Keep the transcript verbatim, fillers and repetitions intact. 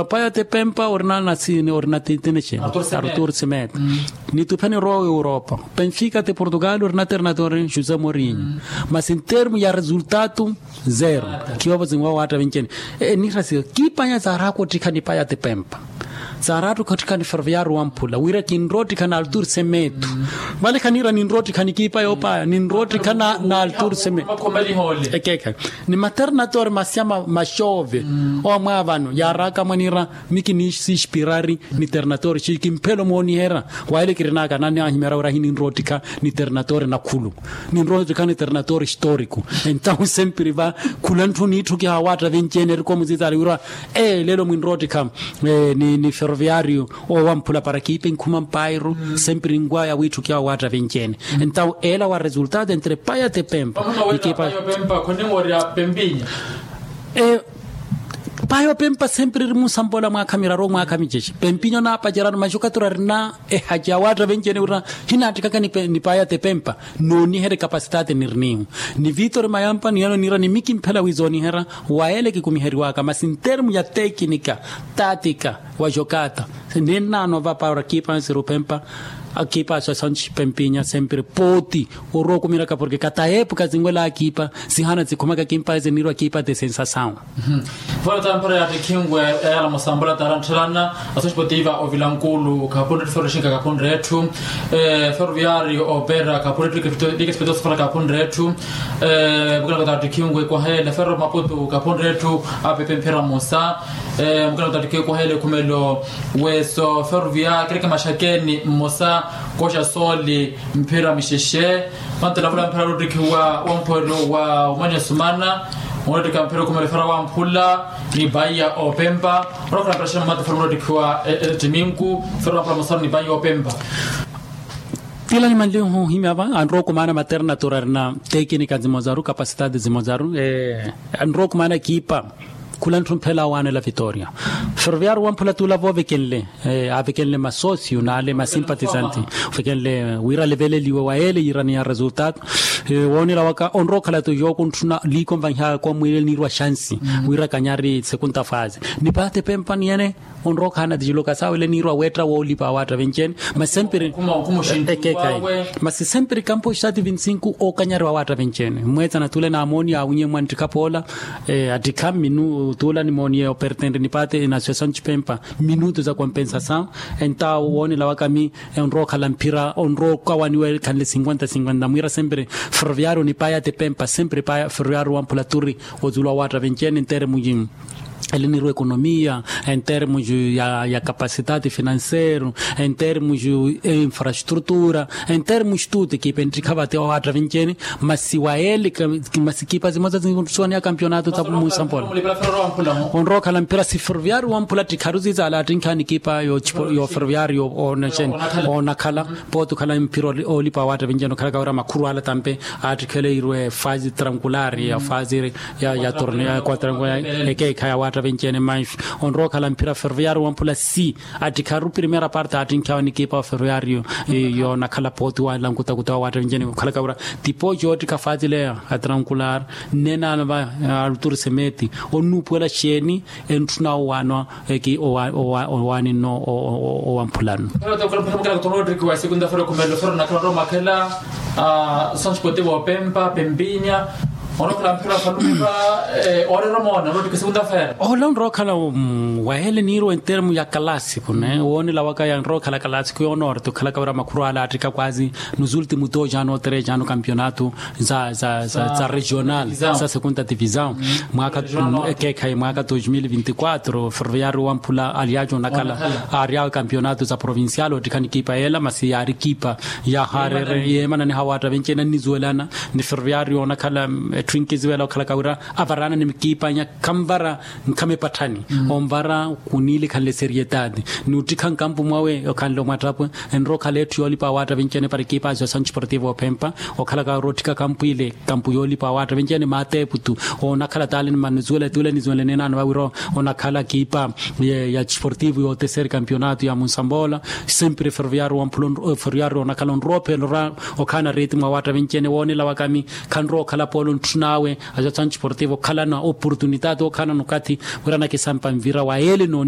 Paya te pempa orina nasini orina tintinexeni. Artur semeto. Nitupheni rowa europa. Penfika te portugal orina terinatori josé morinho. Masi ntermu ya resultatu zero. Kiyovo zinwa watta vencheni. Nirasi kipanya zaraku ottikha ni paya te pempa. Zaraku ottikha ni ferviaru wamphula wira kinrotikha na altur semeto. Vale khanira ninrotikha ni kipanya opaya ninrotikha na altur semeto. Ekekha ni materinatori masyama maxove. Omwa vano yarakamwanira. Miki ni sispirari ni terinatori xikimphelo mooniherya. Wahele kirinaka nani ahimera wira hininrotikha ni terinatori nakhulu. Ninrotikha ni terinatori xittoriku. Entahu sempiri va khula ntthu nitthu kihawatta vencheni erikomu zizali wira. Lelo mwinrotikha ni ferroviario owamphula para kiipe nkhuma mpairu sempiri nkwaya witthu kihawatta vencheni. Entahu ela wa resultado entre paya te pempa. Payo pempa sempiri eri munsambola mwaakha miraru mwaakha micexe pempinyo naapacerano maxukatura rina. Ehaci awaatta venceene wira hinaattikaka ni paya te pempa. Nooniherya ekapasitaati nirinihu ni vitori mayampa niyano niira ni mikimphela wizooniherya. Wa ele kikumiheriwaka masi ntermu ya tekinika taatika wa jokata. Ninnaano vapa ora kiipa nsiru pempa akiipa aswasanci pempinya sempiri pooti. Orwa okumiraka porke kata eepuka zinwela akiipa sihana zikhumaka kimpa zinirwa kiipa te sensasawu. Vale tamphera yaattikhinwe eyala musambola tarantthelana. Asospotiva ovilankulu kapunre etthu feroshinka kapunre etthu ferroviario opera kapunre etthu likespeto sofala kapunre etthu. Mukana kutaattikhinwe kwahele ferro maputu kapunre etthu apepe mphira musa. Mukana kutaattikhinwe kwahele khumelo weso ferrovia kereke maxakeni mmosa koxa sooli mphira mixexe. Mantela vula mphira lottikhiwa wamphwelo wa umanya sumana. Onottika mphira okhumela efera wamphula ni paiya opempa. Onokhala mphira xina mumata fera mulottikhiwa ettiminku fera wamphula mosaru ni paiya opempa. Tila ni manlihu ohimya va anrowa okumaana maternatura arina tekinika zimozaru kapasitati zimozaru. Anrowa okumaana ekipa khula ntthu mphela awaanela vitoria. Ferroviario wamphula tuula voovekenle avekenle masosio n'ale masimpatizanti ovekenle wira aleveleliwe wa ele yiiraniya resultado. Woonela waka onrowa okhala tu yookuntthuna liikonvanhiyaka omwiilele niirwa xansi wira kanyari sekunta faazi. Ni paate pempa niyene onrowa okhala na tijiluka saawele niirwa weetta woolipa awaatta venceene. Masi sempiri ekekayi masi sempiri kampo xitaati vinti sinku ookanyariwa awaatta venceene mweetsana tuule naamooniye aawinye mwa nttikha poola. Attikha mminu tuula nimooniye opertente ni paate na associação de pempa minutu za kompensasawu. Entawo woonela waka mi onrowa okhala mphira onrowa okawaniwa ekhanle sinkwenta sinkwenta mwiira sempiri ferroviario ni paya te pempa sempiri paya ferroviario wamphula turi. Otuula owaatta venceene enteremu yi ele nirwa ekonomiya enteremu yi ya kapasitati finanseru enteremu yi infrastrutura enteremu yi tuuti kiipa enttikha vate owaatta venceene. Masi wa ele masi kiipa zimoza zinsuwaniya kampionato tapu munsampola. Onrowa okhala mphira si ferroviario wamphula ttikharu zizaala attinkha ni kiipa yo ferroviario onakhala pooti okhala mphira oolipa awaatta venceene okhalaka wira makhuru ala tampe. Attikhele irwe faazi trankulari ya faazi ya torneo ya quatrankulari ekeekha ya waatta venceene manxu. Onrowa okhala mphira ferroviario wamphula si attikharu primera parte attinkhawe ni kiipa ferroviario yoonakhala pooti walankuta kuta wa waatta venceene okhalaka wira tipo yoottikha faazi leya atrankulari. Nnenaano va aluturi semeti onnuupuwela xeeni entthuna owaanwa eki owaani nno owamphulano. Otttikiwa esekunta fera okhumela ofera onakhala onrowa omakhela. Sonspoti voopempa pempinya onrowa okhala mphira falumipa. Ooreera omoona onrowa ottikwa esekunta fera. Ola onrowa okhala wahele niirwa entermu ya kalasiku ne woonela waka yanrowa okhala kalasiku yoonoorti okhalaka wira makhuru ala attika kwazi. Nos últimos dos anos tres anos kampionato za regional za segunda divisão. Mwaaka ekeekhayi mwaaka dos mil vinti quatro ferroviario wamphula alyaaco onakhala aaryawe kampionato za provincial ottikha ni kiipa yeela masi yaari kiipa ya harere yeemananiha waatta venceene annizuwelana ni ferroviario onakhala etthu enkizuwela okhalaka wira avaraana ni kiipanya khanvara nkhama epatthani. Onvara kuniilikhanle serietati ni ottikha nkampu mwawe okhanle omwattapwe. Enrowa okhala etthu yoolipa awaatta venceene para ekipa associação desportiva ophempa okhalaka wira otthika kampu ile kampu yoolipa awaatta venceene maateepu tu. Onakhala taale ni manuzuwela tuule nizuwela neenaano vawira onakhala kiipa ya desportivo yooteseri kampionato ya munsambola. Sempiri ferroviario wamphula ferroviario onakhala onrowa ophela orwa okhaana ritimu awaatta venceene woonela waka mi khanrowa okhala poola ontthun'awe associação desportiva okhalana oportunitati okhalana okathi wira anakisampa mvira wa ele nooni.